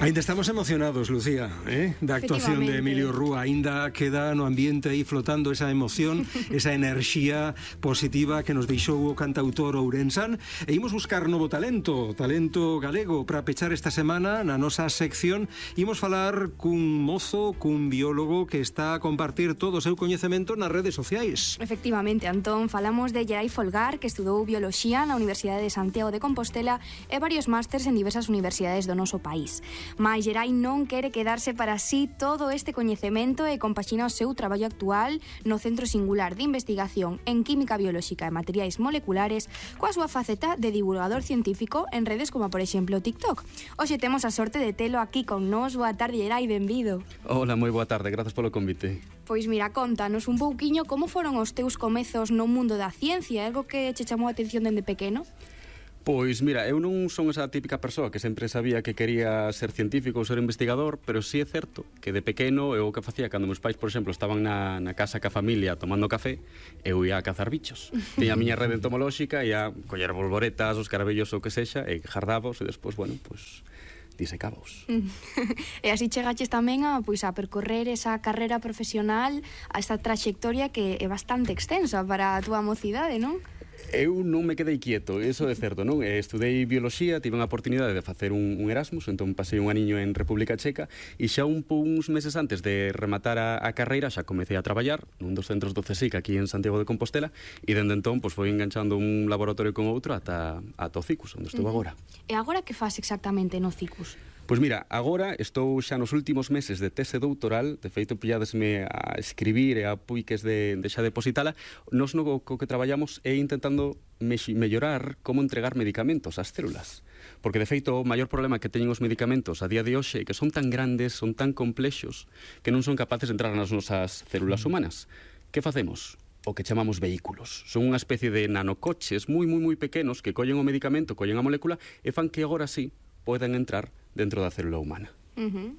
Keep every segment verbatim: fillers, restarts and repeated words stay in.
Ainda estamos emocionados, Lucía, eh? da actuación de Emilio Rúa. Ainda queda no ambiente aí flotando esa emoción, esa enerxía positiva que nos deixou o cantautor ourensán. E imos buscar novo talento, talento galego, para pechar esta semana na nosa sección. Imos falar cun mozo, cun biólogo que está a compartir todo o seu coñecemento nas redes sociais. Efectivamente, Antón, falamos de Gerai Folgar, que estudou bioloxía na Universidade de Santiago de Compostela e varios másters en diversas universidades do noso país. Mais Gerai non quere quedarse para sí todo este coñecemento e compaxina o seu traballo actual no Centro Singular de Investigación en Química Biolóxica e Materiais Moleculares coa súa faceta de divulgador científico en redes como, por exemplo, TikTok. Hoxe temos a sorte de telo aquí con nós. Boa tarde, Gerai, benvido. Hola, moi boa tarde, grazas polo convite. Pois mira, contanos un pouquiño como foron os teus comezos no mundo da ciencia, algo que che chamou a atención dende pequeno? Pois mira, eu non son esa típica persoa que sempre sabía que quería ser científico ou ser investigador, pero sí é certo que de pequeno eu o que facía cando meus pais, por exemplo, estaban na, na casa ca familia tomando café, eu ia a cazar bichos. Tiña a miña rede entomolóxica, ia a coller bolboretas, os carabellos ou que sexa, e jardábos, e despois, bueno, pois disecábos. E así chegaches tamén a, pois, a percorrer esa carrera profesional, a esta traxectoria que é bastante extensa para a túa mocidade, non? Eu non me quedei quieto, iso é certo, non? Estudei bioloxía, tive unha oportunidade de facer un, un Erasmus, entón pasei un aniño en República Checa e xa un uns meses antes de rematar a, a carreira xa comecei a traballar nun dos centros do CSIC aquí en Santiago de Compostela e dende entón pois, foi enganchando un laboratorio con outro ata, ata o CICUS, onde estou uh-huh. agora. E agora que faz exactamente no CICUS? Pois mira, agora estou xa nos últimos meses de tese doutoral, de feito pilladesme a escribir e a puiques de, de xa depositala. Nos no co que traballamos é intentando me mellorar como entregar medicamentos ás células. Porque de feito o maior problema que teñen os medicamentos a día de hoxe é que son tan grandes, son tan complexos, que non son capaces de entrar nas nosas células humanas. Que facemos? O que chamamos vehículos. Son unha especie de nanocoches moi, moi, moi pequenos que collen o medicamento, collen a molécula e fan que agora sí poden entrar dentro da célula humana. Uh-huh.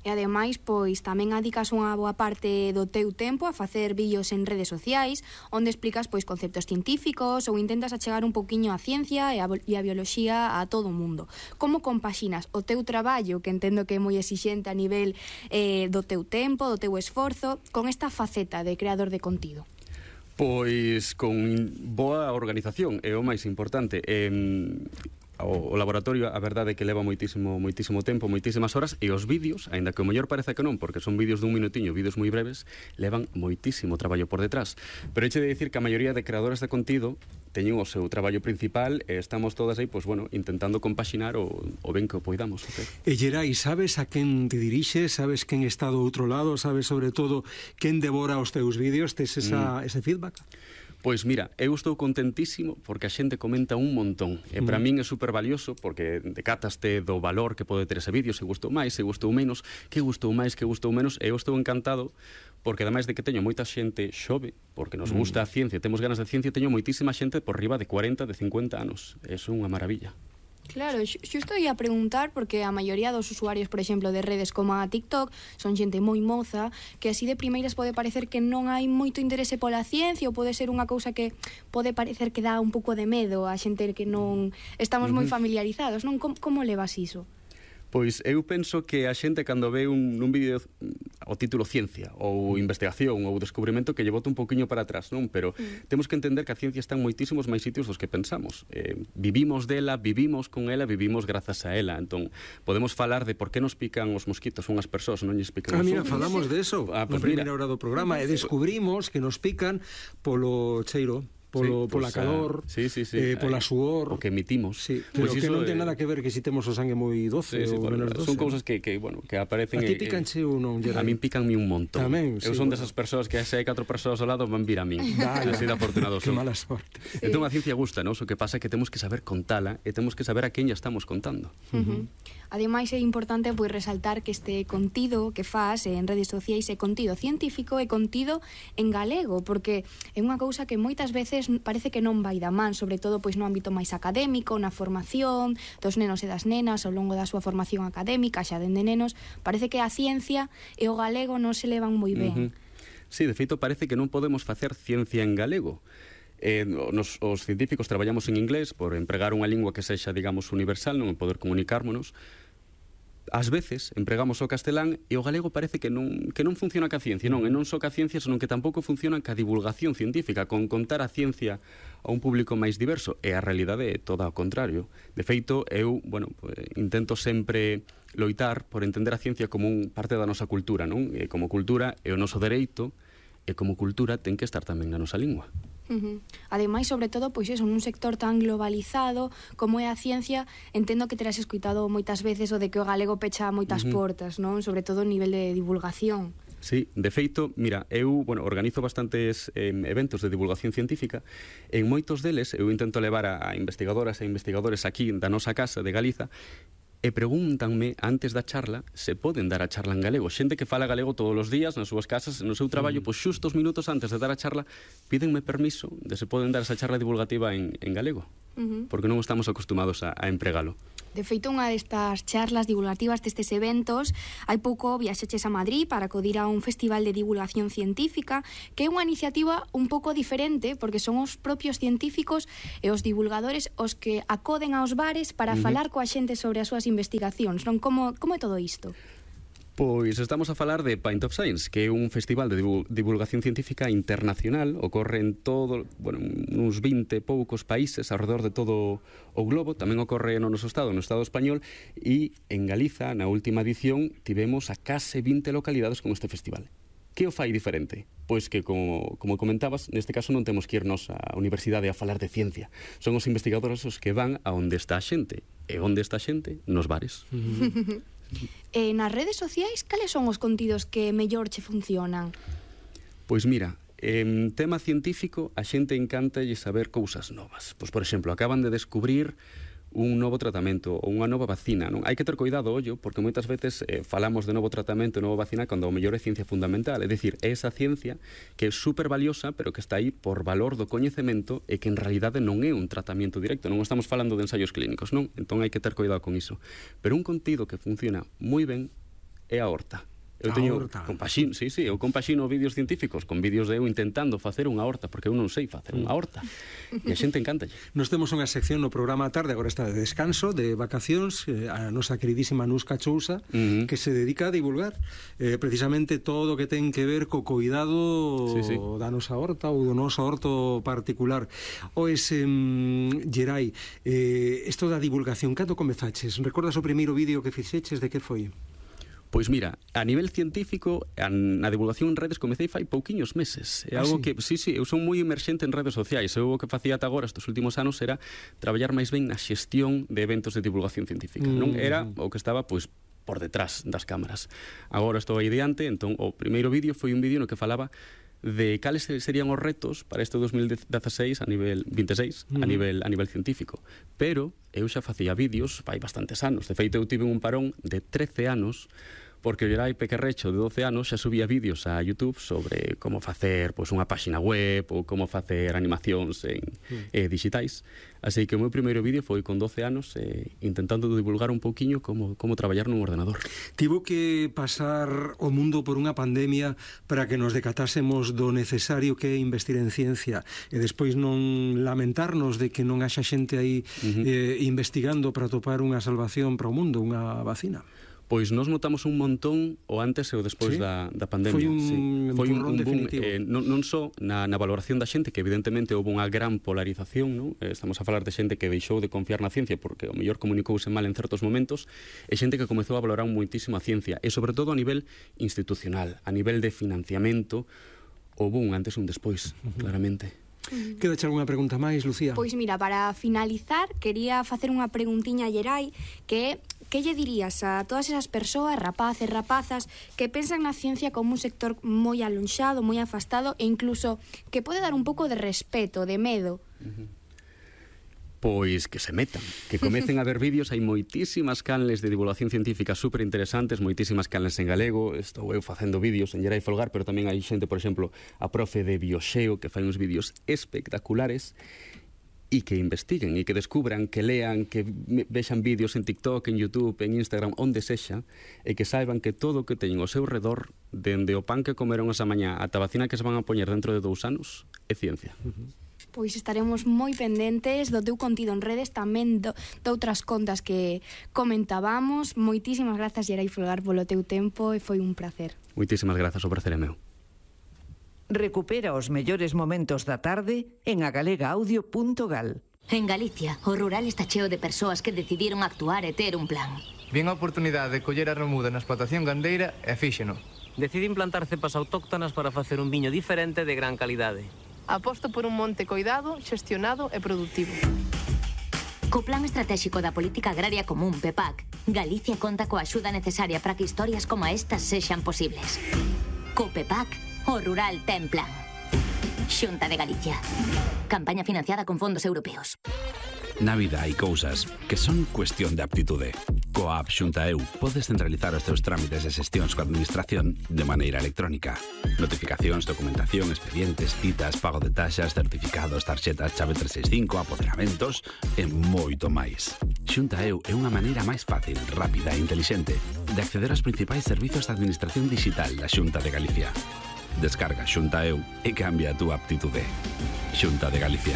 E ademais, pois, tamén adicas unha boa parte do teu tempo a facer vídeos en redes sociais onde explicas, pois, conceptos científicos ou intentas achegar un pouquiño a ciencia e a, e a bioloxía a todo o mundo. Como compaxinas o teu traballo, que entendo que é moi exixente a nivel eh, do teu tempo, do teu esforzo, con esta faceta de creador de contido? Pois con boa organización, é o máis importante. Eh, O, o laboratorio, a verdade é que leva moitísimo, moitísimo tempo, moitísimas horas, e os vídeos, aínda que o mellor parece que non, porque son vídeos dun minutiño, vídeos moi breves, levan moitísimo traballo por detrás. Pero heche de dicir que a maioría de creadores de contido teñen o seu traballo principal e estamos todas aí, pois, bueno, intentando compaxinar o, o ben que o poidamos facer. E Gerai, sabes a quen te dirixes? Sabes quen está do outro lado? Sabes, sobre todo, quen devora os teus vídeos? Tes esa, mm. ese feedback? Pois mira, eu estou contentísimo porque a xente comenta un montón e para mm. min é super valioso porque decataste do valor que pode ter ese vídeo, se gustou máis, se gustou menos, que gustou máis, que gustou menos, e eu estou encantado porque ademais de que teño moita xente xove, porque nos gusta a ciencia, temos ganas de ciencia, teño moitísima xente por riba de cuarenta, de cincuenta anos. Eso é unha maravilla. Claro, xusto ia a preguntar porque a maioría dos usuarios, por exemplo, de redes como a TikTok son xente moi moza que así de primeiras pode parecer que non hai moito interese pola ciencia ou pode ser unha cousa que pode parecer que dá un pouco de medo a xente que non estamos moi familiarizados, non? Como, como levas iso? Pois eu penso que a xente cando ve un, un vídeo o título ciencia ou investigación ou descubrimento que lle bota un poquinho para atrás, non? Pero mm. temos que entender que a ciencia está en moitísimos máis sitios dos que pensamos. Eh, vivimos dela, vivimos con ela, vivimos grazas a ela. Entón, podemos falar de por que nos pican os mosquitos unhas persoas, non lles pican os os Ah, mira, falamos de eso ah, pues na primeira hora do programa e descubrimos que nos pican polo cheiro. Polo, sí, pola pues, calor, uh, sí, sí, sí, eh, pola suor, o que emitimos. Sí, pero pues que non ten nada que ver que si temos o sangue moi doce sí, sí, ou bueno, menos doce. Son cousas que, que, bueno, que aparecen... A ti picanche ou non, Gerai? A min picanme un montón. Tamén, Eu sí, son bueno. desas persoas que se hai catro persoas ao lado van vir a min. Dale, así de afortunado que son. mala sorte. Sí. Entón a ciencia gusta, non? O que pasa é que temos que saber contala e temos que saber a quen lla estamos contando. Uh -huh. Ademais é importante pois resaltar que este contido que faz en redes sociais é contido científico e contido en galego, porque é unha cousa que moitas veces parece que non vai da man, sobre todo pois no ámbito máis académico, na formación dos nenos e das nenas ao longo da súa formación académica, xa dende nenos, parece que a ciencia e o galego non se levan moi ben. Uh -huh. Sí, de feito parece que non podemos facer ciencia en galego. Eh, nos, os científicos traballamos en inglés por empregar unha lingua que sexa, digamos, universal, non poder comunicármonos, ás veces empregamos o castelán e o galego parece que non, que non funciona ca ciencia, non, e non só ca ciencia, senón que tampouco funciona ca divulgación científica, con contar a ciencia a un público máis diverso, e a realidade é toda ao contrario. De feito, eu, bueno, pues, intento sempre loitar por entender a ciencia como un parte da nosa cultura, non? E como cultura é o noso dereito, e como cultura ten que estar tamén na nosa lingua. Uh-huh. Ademais, sobre todo, pois eso, nun sector tan globalizado como é a ciencia, entendo que terás escoitado moitas veces o de que o galego pecha moitas uh-huh. portas, non? Sobre todo a nivel de divulgación. Sí, de feito, mira, eu, bueno, organizo bastantes eh, eventos de divulgación científica. En moitos deles eu intento levar a investigadoras e investigadores aquí da nosa casa de Galiza e pregúntanme antes da charla se poden dar a charla en galego. Xente que fala galego todos os días nas súas casas, no seu traballo, pois xusto os minutos antes de dar a charla pídenme permiso de se poden dar esa charla divulgativa en, en galego, uh-huh. porque non estamos acostumados a, a empregalo. De feito, unha destas charlas divulgativas destes eventos, hai pouco viaxeches a Madrid para acudir a un festival de divulgación científica, que é unha iniciativa un pouco diferente, porque son os propios científicos e os divulgadores os que acoden aos bares para uh-huh. falar coa xente sobre as súas investigacións, non? Como, como é todo isto? Pois estamos a falar de Pint of Science, que é un festival de divulgación científica internacional, ocorre en todo, bueno, uns vinte poucos países alrededor de todo o globo, tamén ocorre no noso estado, no estado español, e en Galiza, na última edición, tivemos a case vinte localidades con este festival. Que o fai diferente? Pois que, como, como comentabas, neste caso non temos que irnos á universidade a falar de ciencia. Son os investigadores os que van a onde está a xente. E onde está a xente? Nos bares. Uh-huh. E nas redes sociais, cales son os contidos que mellor che funcionan? Pois mira, en tema científico, a xente encantalle saber cousas novas. Pois, por exemplo, acaban de descubrir un novo tratamento ou unha nova vacina, non? Hai que ter cuidado, ollo, porque moitas veces eh, falamos de novo tratamento, nova vacina, cando o mellor é ciencia fundamental, é dicir, é esa ciencia que é super valiosa, pero que está aí por valor do coñecemento e que en realidade non é un tratamento directo, non estamos falando de ensaios clínicos, non? Entón hai que ter cuidado con iso. Pero un contido que funciona moi ben é a horta. Eu teño compaxino, sí, sí, eu compaxino vídeos científicos con vídeos de eu intentando facer unha horta, porque eu non sei facer unha horta. E a xente encanta. Nos temos unha sección no programa a tarde, agora está de descanso, de vacacións, eh, a nosa queridísima Nusca Chousa, uh-huh. que se dedica a divulgar eh, precisamente todo o que ten que ver co cuidado sí, sí. da nosa horta ou do noso horto particular. Oes, eh, Gerai, eh, isto da divulgación, cando comezaches? Recordas o primeiro vídeo que fixeches, de que foi? Pois mira, a nivel científico, a, na divulgación en redes comecei fai pouquiños meses. É algo ah, sí? que, sí, sí, eu son moi emerxente en redes sociais. Eu o que facía ata agora estes últimos anos era traballar máis ben na xestión de eventos de divulgación científica. Mm. Non era o que estaba, pois, por detrás das cámaras. Agora estou aí diante, entón o primeiro vídeo foi un vídeo no que falaba de cales serían os retos para este dos mil dieciséis a nivel vinte e seis, uh-huh. a nivel a nivel científico. Pero eu xa facía vídeos fai bastantes anos. De feito, eu tive un parón de trece anos porque o Gerai Pequerrecho de doce anos xa subía vídeos a YouTube sobre como facer pois, unha páxina web ou como facer animacións en, mm. eh, digitais. Así que o meu primeiro vídeo foi con doce anos eh, intentando divulgar un pouquiño como, como traballar nun ordenador. Tivo que pasar o mundo por unha pandemia para que nos decatásemos do necesario que é investir en ciencia e despois non lamentarnos de que non haxa xente aí uh-huh. eh, investigando para topar unha salvación para o mundo, unha vacina. Pois nos notamos un montón o antes e o despois sí? da, da pandemia. Foi un, sí. Foi un, un boom eh, non, non só na, na valoración da xente, que evidentemente houve unha gran polarización, non? Eh, estamos a falar de xente que deixou de confiar na ciencia porque o mellor comunicouse mal en certos momentos, e xente que comezou a valorar moitísimo a ciencia, e sobre todo a nivel institucional, a nivel de financiamento, houve un antes e un despois, uh-huh. claramente. Uh-huh. Quedache algunha pregunta máis, Lucía? Pois mira, para finalizar, quería facer unha preguntiña a Gerai, que é: que lle dirías a todas esas persoas, rapaces, rapazas, que pensan na ciencia como un sector moi alonxado, moi afastado, e incluso que pode dar un pouco de respeto, de medo? Uh-huh. Pois que se metan, que comecen a ver vídeos. Hai moitísimas canles de divulgación científica super interesantes, moitísimas canles en galego. Estou eu facendo vídeos en Gerai Folgar, pero tamén hai xente, por exemplo, a profe de Bioxeo, que fai uns vídeos espectaculares, e que investiguen, e que descubran, que lean, que vexan vídeos en TikTok, en YouTube, en Instagram, onde sexa, e que saiban que todo o que teñen ao seu redor, dende o pan que comeron esa mañá ata a vacina que se van a poñer dentro de dous anos, é ciencia. Uh-huh. Pois estaremos moi pendentes do teu contido en redes, tamén do, de outras contas que comentábamos. Moitísimas grazas, Gerai Folgar, polo teu tempo, e foi un placer. Moitísimas grazas, o prazer é meu. Recupera os mellores momentos da tarde en agalegaaudio punto gal. En Galicia, o rural está cheo de persoas que decidiron actuar e ter un plan. Vien a oportunidade de coller a remuda na explotación gandeira e fíxeno. Decidín plantar cepas autóctonas para facer un viño diferente de gran calidade. Aposto por un monte coidado, xestionado e productivo. Co Plan Estratégico da Política Agraria Común, P E P A C, Galicia conta coa axuda necesaria para que historias como estas sexan posibles. Co P E P A C, o rural ten plan. Xunta de Galicia. Campaña financiada con fondos europeos. Na vida hai cousas que son cuestión de aptitude. Coa app Xunta E U podes centralizar os teus trámites e xestións coa administración de maneira electrónica. Notificacións, documentación, expedientes, citas, pago de taxas, certificados, tarxetas, chave trescentos sesenta e cinco, apoderamentos e moito máis. Xunta E U é unha maneira máis fácil, rápida e intelixente de acceder aos principais servizos de administración digital da Xunta de Galicia. Descarga Xunta E U e cambia a túa aptitude. Xunta de Galicia.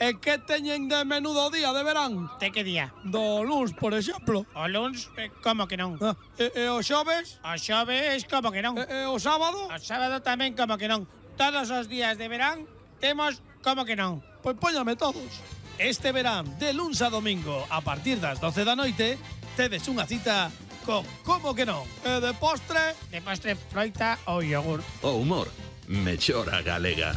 E que teñen de menudo día de verán? De que día? Do luns, por exemplo. O luns, eh, como que non? Ah, e, e o xoves? O xoves, como que non? E, e o sábado? O sábado tamén, como que non? Todos os días de verán temos como que non? Pois póñame todos. Este verán, de luns a domingo, a partir das doce da noite, tedes unha cita con como que non? E de postre? De postre, froita ou yogur. O humor, mellora galega.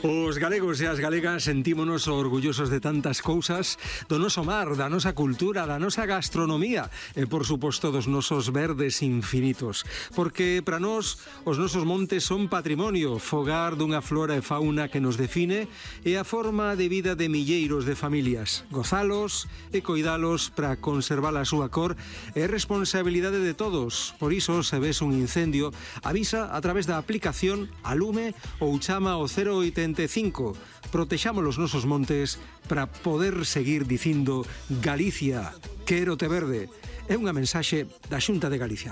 Os galegos e as galegas sentímonos orgullosos de tantas cousas, do noso mar, da nosa cultura, da nosa gastronomía e, por suposto, dos nosos verdes infinitos. Porque para nós os nosos montes son patrimonio, fogar dunha flora e fauna que nos define e a forma de vida de milleiros de familias. Gozalos e coidalos para conservar a súa cor é responsabilidade de todos. Por iso, se ves un incendio, avisa a través da aplicación Alume ou chama ao cero oitenta e cinco. Protexamos os nosos montes para poder seguir dicindo Galicia, quérote verde. É unha mensaxe da Xunta de Galicia.